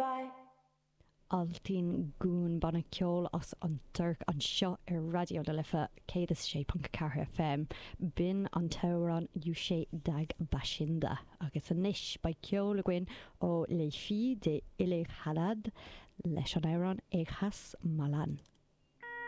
Vai. Altın Gün, banna ceoil as an Tuirc anseo ar Raidió na Life 106.4 FM. B'in an t-amhrán Yüce Dağ Başında. Agus anois beidh ceol againn ó Les Filles de Illighadad leis an amhrán Eighas Malan.